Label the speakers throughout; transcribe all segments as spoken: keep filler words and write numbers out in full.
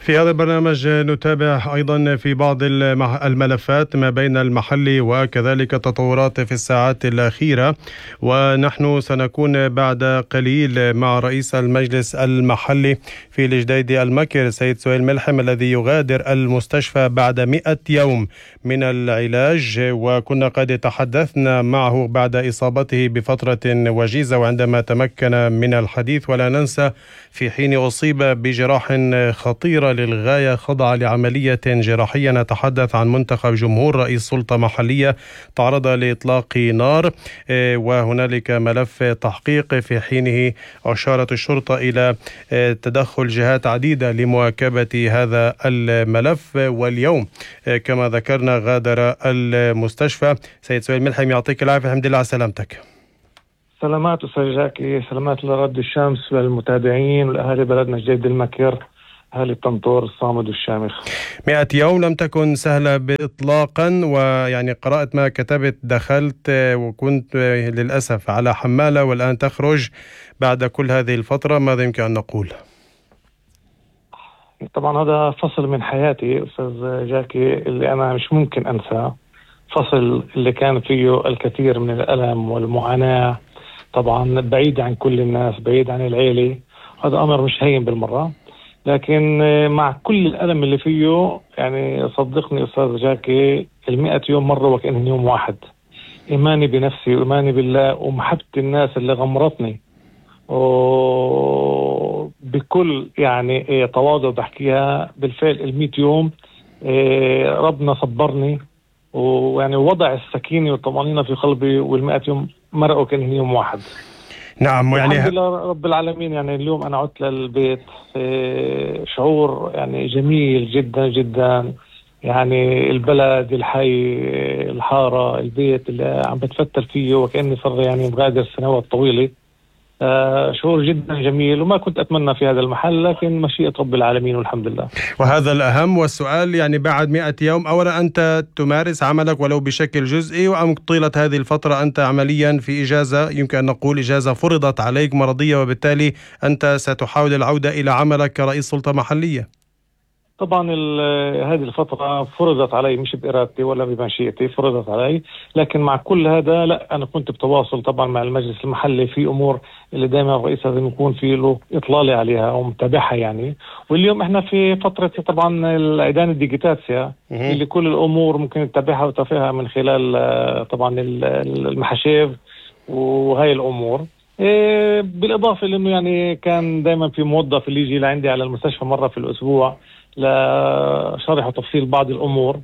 Speaker 1: في هذا البرنامج نتابع أيضا في بعض الملفات ما بين المحلي وكذلك تطورات في الساعات الأخيرة، ونحن سنكون بعد قليل مع رئيس المجلس المحلي في الجديدي المكر سيد سهيل ملحم الذي يغادر المستشفى بعد مئة يوم من العلاج، وكنا قد تحدثنا معه بعد إصابته بفترة وجيزة وعندما تمكن من الحديث، ولا ننسى في حين أصيب بجراح خطيرة للغاية خضع لعملية جراحية. نتحدث عن منتخب جمهور رئيس سلطة محلية تعرض لإطلاق نار، وهنالك ملف تحقيق في حينه أشارت الشرطة إلى تدخل جهات عديدة لمواكبة هذا الملف. واليوم كما ذكرنا غادر المستشفى. سيد سهيل ملحم يعطيك العافية، الحمد لله على سلامتك.
Speaker 2: سلامات أستاذ جاكي، سلامات لرد الشمس للمتابعين والأهالي بلدنا جديدي المكر، أهالي الطنطور الصامد والشامخ.
Speaker 1: مئة يوم لم تكن سهلة إطلاقا، ويعني قرأت ما كتبت، دخلت وكنت للأسف على حمالة والآن تخرج بعد كل هذه الفترة، ماذا يمكن أن نقول؟
Speaker 2: طبعا هذا فصل من حياتي أستاذ جاكي اللي أنا مش ممكن أنساه، فصل اللي كان فيه الكثير من الألم والمعاناة، طبعا بعيد عن كل الناس، بعيد عن العيلة. هذا أمر مش هين بالمرة، لكن مع كل الألم اللي فيه يعني صدقني أستاذ جاكي المئة يوم مرة وكأنه يوم واحد. إيماني بنفسي وإيماني بالله ومحبة الناس اللي غمرتني وبكل يعني تواضع بحكيها، بالفعل المئة يوم ربنا صبرني ويعني وضع السكينة والطمأنينة في قلبي، والمئة يوم مرقوا كأنه يوم واحد.
Speaker 1: نعم، يعني
Speaker 2: الحمد لله رب العالمين. يعني اليوم أنا عدت للبيت شعور يعني جميل جدا جدا، يعني البلد، الحي، الحارة، البيت اللي عم بتفتل فيه وكأني صار يعني مغادر سنوات طويلة. آه شعور جدا جميل، وما كنت أتمنى في هذا المحل، لكن مشيئة رب العالمين والحمد لله.
Speaker 1: وهذا الأهم. والسؤال يعني بعد مئة يوم، أولا أنت تمارس عملك ولو بشكل جزئي، وأم طيلة هذه الفترة أنت عمليا في إجازة، يمكن أن نقول إجازة فرضت عليك مرضية، وبالتالي أنت ستحاول العودة إلى عملك كرئيس سلطة محلية؟
Speaker 2: طبعا هذه الفترة فرضت علي، مش بإرادتي ولا بمشيئتي، فرضت علي. لكن مع كل هذا لا، أنا كنت بتواصل طبعا مع المجلس المحلي في أمور اللي دائما الرئيس لازم يكون في له إطلالي عليها ومتابعها يعني. واليوم إحنا في فترة طبعا العيدان الديجيتاسيا اللي كل الأمور ممكن تتابعها وتفيها من خلال طبعا المحاشيف وهاي الأمور. إيه بالإضافة لأنه يعني كان دائما في موظف اللي يجي لعندي على المستشفى مرة في الأسبوع لشرح وتفصيل بعض الأمور،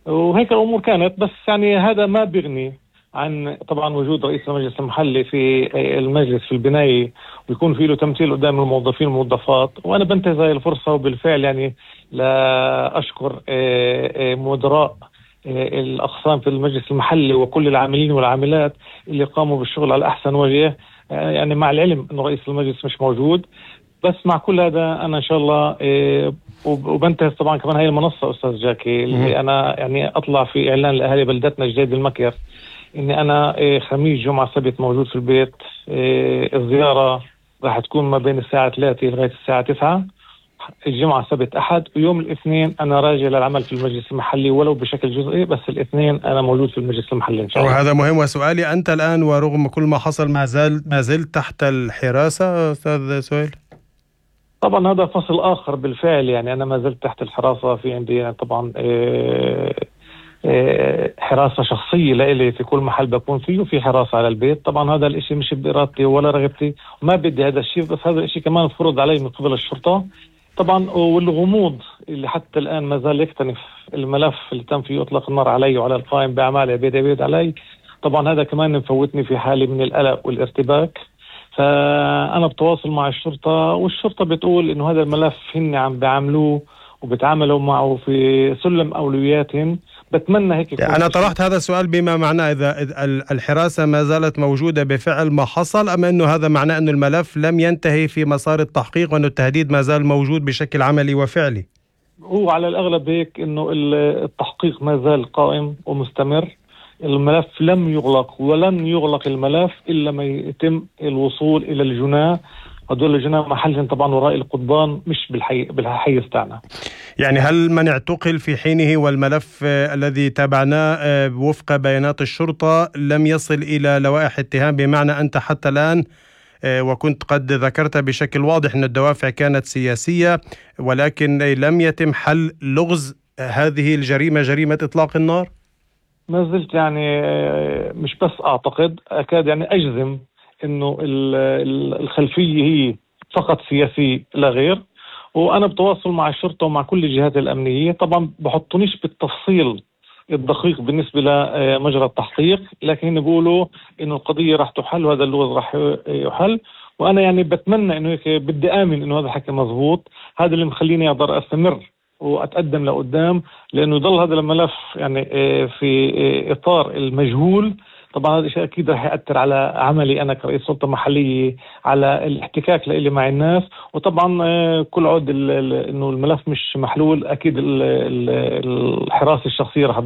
Speaker 2: وهيك الأمور كانت. بس يعني هذا ما بيغني عن طبعا وجود رئيس المجلس المحلي في المجلس في البناية، ويكون فيه له تمثيل قدام الموظفين والموظفات. وأنا بنتهز هذه الفرصة وبالفعل يعني لا أشكر مدراء الأقسام في المجلس المحلي وكل العاملين والعاملات اللي قاموا بالشغل على أحسن وجه، يعني مع العلم أنه رئيس المجلس مش موجود. بس مع كل هذا أنا إن شاء الله إيه وبنتهز طبعا كمان هاي المنصة أستاذ جاكي اللي أنا يعني أطلع في إعلان لأهالي بلدتنا جديدي المكر إني أنا إيه خميس جمعة سبت موجود في البيت. إيه الزيارة راح تكون ما بين الساعة ثلاثة لغاية الساعة تسعة، الجمعة سبت أحد، ويوم الاثنين أنا راجع للعمل في المجلس المحلي ولو بشكل جزئي، بس الاثنين أنا موجود في المجلس المحلي إن شاء الله.
Speaker 1: وهذا مهم. وسؤالي، أنت الآن ورغم كل ما حصل ما زال ما زلت تحت الحراسة أستاذ سهيل؟
Speaker 2: طبعا هذا فصل آخر بالفعل، يعني أنا ما زلت تحت الحراسة. في عندي يعني طبعا إيه إيه حراسة شخصية لإلي في كل محل بكون فيه، وفي حراسة على البيت. طبعا هذا الاشي مش بإرادتي ولا رغبتي وما بدي هذا الشيء، بس هذا الاشي كمان فرض علي من قبل الشرطة طبعا. والغموض اللي حتى الآن ما زال يكتنف الملف اللي تم فيه إطلاق النار علي وعلى القائم بأعمال عبيد عبيد علي، طبعا هذا كمان مفوتني في حالة من القلق والارتباك. فأنا بتواصل مع الشرطة، والشرطة بتقول إنه هذا الملف هن عم بيعملوه وبتعاملوا معه في سلم أولوياتهم. بتمنى هيك.
Speaker 1: أنا طرحت هذا السؤال بما معناه إذا الحراسة ما زالت موجودة بفعل ما حصل، أم أنه هذا معناه أنه الملف لم ينتهي في مسار التحقيق وأنه التهديد ما زال موجود بشكل عملي وفعلي؟
Speaker 2: هو على الأغلب هيك، إنه التحقيق ما زال قائم ومستمر. الملف لم يغلق ولن يغلق الملف إلا ما يتم الوصول إلى الجناة هدول الجناة محلهم طبعا وراء القضبان مش بالحي بالحيز تاعنا.
Speaker 1: يعني هل من اعتقل في حينه والملف الذي تابعناه وفق بيانات الشرطة لم يصل إلى لوائح اتهام، بمعنى أنت حتى الآن وكنت قد ذكرت بشكل واضح أن الدوافع كانت سياسية، ولكن لم يتم حل لغز هذه الجريمة، جريمة إطلاق النار؟
Speaker 2: ما زلت يعني مش بس أعتقد، أكاد يعني أجزم إنه الخلفية هي فقط سياسية لا غير. وأنا بتواصل مع الشرطة ومع كل الجهات الأمنية، طبعا بحطونيش بالتفصيل الدقيق بالنسبة لمجرى التحقيق، لكن بيقولوا إنه القضية راح تحل وهذا اللغز راح يحل. وأنا يعني بتمنى إنه هيك، بدي آمن إنه هذا الحكي مزبوط. هذا اللي مخليني أقدر أستمر وأتقدم لقدام، لأنه يضل هذا الملف يعني في إطار المجهول. طبعا هذا الشيء أكيد رح يأثر على عملي أنا كرئيس سلطة محلية، على الاحتكاك اللي مع الناس. وطبعا كل عود إنه الملف مش محلول، أكيد الحراسة الشخصية رح